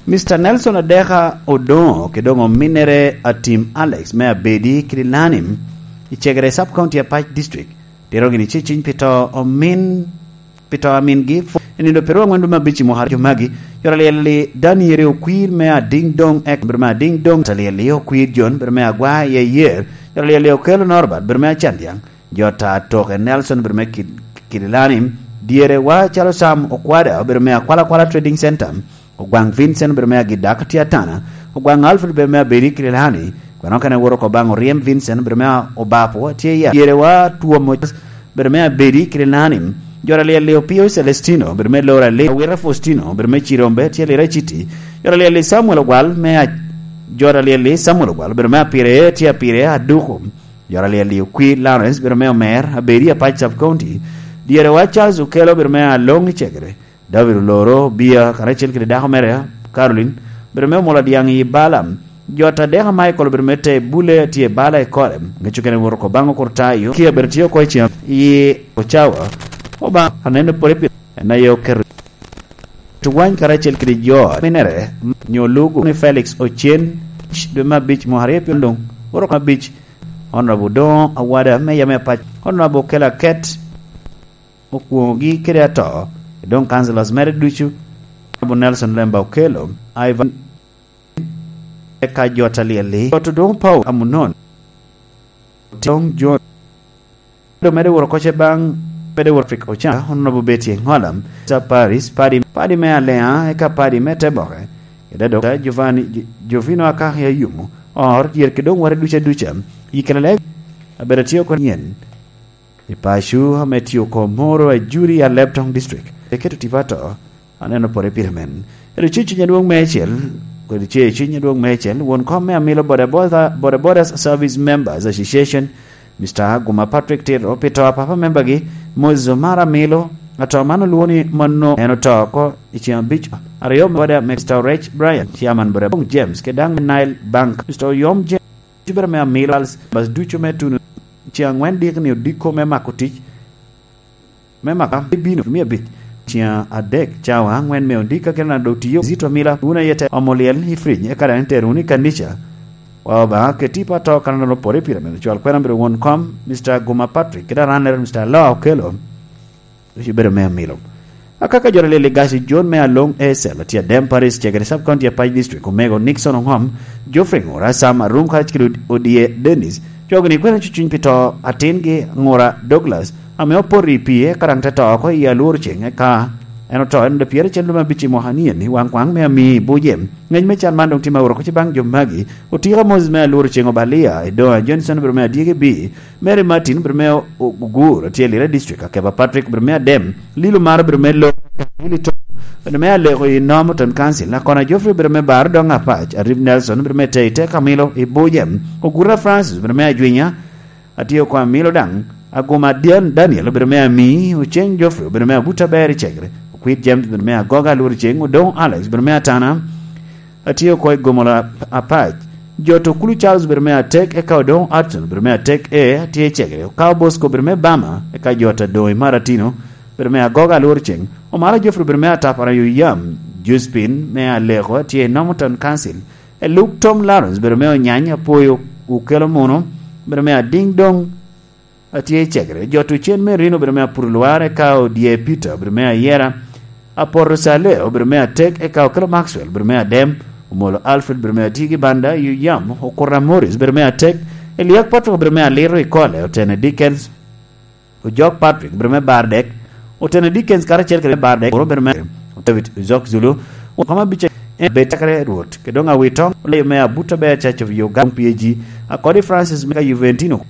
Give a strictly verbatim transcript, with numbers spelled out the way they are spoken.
Mister Nelson Adeka Odoŋo kede doŋ ominnere Atim Alex me Abedi Kidilani i Cegere Sub County Apac District, tito gini ceciny pi to omin, pi to amingi i nindo perwa angwen dwe me abic i mwaka jo magi. Jot alyel-li Daniel Okwir me Adiŋ Doŋ, ek, bedo me Adiŋ Doŋ, jot alyel-li Okwir John, bedo me Agwa i Ayer, jot alyel-li Okello Norbert, bedo me Acandiaŋ, jot atoke Nelson, bedo me Kid-, Kidilani, dyere wa calo Sam Okwada, bedo me Akwalakwala Trading Center, Ogwaŋ Vincent, bedo me Agidak, tye Atana, Ogwaŋ Alfred, bedo me Abedi Kidilani, kwena okene woro oko baŋ Oryem Vincent, bedo me Obapo, tye ya, dyere wa Twom Oc-, bedo me Abedi Kidilani, jot alyel-li Opio Celestino, bedo me Lora Lee, Awira Faustino, bedo me Cirombe, tye Lira City, jot alyel-li Samuel Ogwal, me A-, jot alyel-li Samuel Ogwal, bedo me Apire, tye Apire, Aduku, jot alyel-li Okwir Lawrence, bedo me Omer, Abedi Apac Sub County, dyere wa Charles Okello, bedo me Aloŋ i Cegere, David Oloro Bia, karacel kede dako mere, Caroline, bedo me Omolo Adyaŋ i Bala, jot Adeka Michael, bedo me te Bule, tye Bala i Kore, ŋec okene woro oko baŋ Okurtayo, kia bedo tye oko i cen i Ocawa, Obaŋa aneno pwod pi en aye oketo tuwany karacel kede jo minere nyo lugu ni Felix Ocen, dwe me abic mwaka aryo pyen doŋ, woro oko abic, Honorable Odoŋo Awada me yam me Apac, Honorable Okello Aket, okwoŋogi kede ato, doŋ councillors mere ducu, Honorable Nelson Lemba Okello, Ivan, eka jot alyel-li, jot Odoŋo Paul Amunon, Odoŋo John, doŋ mede woro oko ce baŋ, mede woro Africa Ocan, Honorable Betty Engola, Sir Paris, Padi, Padi me Alea, eka Padi me Teboke, kede Doctor Giovanni, Gi-, Giovino Akahi Ayumu, or, dyerki doŋ wore duca duca, yi kede leb, abedo tye oko nyen. I paco ame tye oko moro a juri a Lebtong District, eketo tipo ato, aneno pore pire men. Edo ceciny adwoŋ me ecel, kodi ceciny adwoŋ me ecel, won kom me Amilo Boda Boda, Boda Boda Service Members Association, Mister Aguma Patrick Tito, pi to a papa membagi, Moses Omar Amilo, ato man olwoŋo ni mano en oto oko i ceng abic, aryo me Boda, Mister Rech Brian, Chairman Boda Bong James, kede daŋ Nile Bank, Mister Oyom James, Cibere me Amilo, bas ducu me tuno ceŋ angwen dikni odiko me mako tic, me mako bino me abic, ceŋ adek cawa angwen me odiko, kena dok tiyo zito Amilo, wun aye te omo lyel i fridge, eka daŋ itero wunu i kanica. Wa Obaŋa ket tipo ato kan dano pore pire, meno cwal kwena bedo won kom, Mister Guma Patrick, kede aranere, Mister Aloa Okello. Wec obedo me Amilo. Akaka jot alyel i Gaci John me Aloŋ Esel, tye Adem Paris, Cegere Sub County, Apac District, Omego Nixon Oŋom, Geoffrey Ŋura, Sam Arum, karacel kede Od-, Odie Dennis, cogi ni kwene cucuny pi to atingi Ŋura Douglas, ame opoto i pii, eka daŋ te to oko i alworo ceŋ, eka en oto, en odo pyeracel dwe me abic i mwaka ni eni, waŋ kwaŋ me Amii Buje. Ngec me can man doŋ tye ma woro oko ce baŋ jo magi, Otika Moses me alworo ceŋ Obalia, Edoa Johnson, bedo me adyegi bi, Mary Martin, bedo me O-, Ogur, tye Lira District, Akeba Patrick, bedo me Adem, Lilo Maro, bedo me Lo, Lili Tom, bedo me Aleko i Northerton Council, Akona Geoffrey, bedo me Bar Dong Apac, Arif Nelson, bedo me Tei Teka Milo i Buje, Ogura Francis, bedo me Ajwinya, Atio Kwa Milo daŋ, Aguma Dian-, Daniel, bedo me Ami, Oceng Geoffrey, bedo me Abuta Ber i Cegre, Okwit James, bedo me Agoga, Alworo Ceng, Odong Alex, bedo me Atana, Atye oko i Gomola Apac. Jot Okulu Charles obedo me atek, eka Odongo Hudson obedo me atek, e, atye i Cegere. Okawo Bosco obedo me Bama, eka jot Adongo i Maratino obedo me Agoga, Alworo Ceng. Omara Geoffrey obedo me Atapara yo yam. Josephine me Aleko atye i Northerton Council. Eluk Tom Lawrence obedo me Onyany, Apoyo Okelo Muno obedo me Ading Dong. Atye i Cegere. Jot Ocen me Rino obedo me Apuro Lwar, eka Odye Peter obedo me Ayera. Apoto Saleo obedo me atek, eka Okelo Maxwell obedo me adem. Omolo Alfred obedo me Atigi Banda, Yuyam Okura Morris obedo me atek. Eliak Patrick obedo me alito i Kole, Otene Dickens. Ojok Patrick obedo me bar dek. Otene Dickens karacel kede bar dek, obedo me David Ozok Zulu. Okama bice en bed cakere Rwot. Kedong Awitong, olayo me Abuta Ber Church of Uganda, P A G. Akodi Francis me ka Juventino.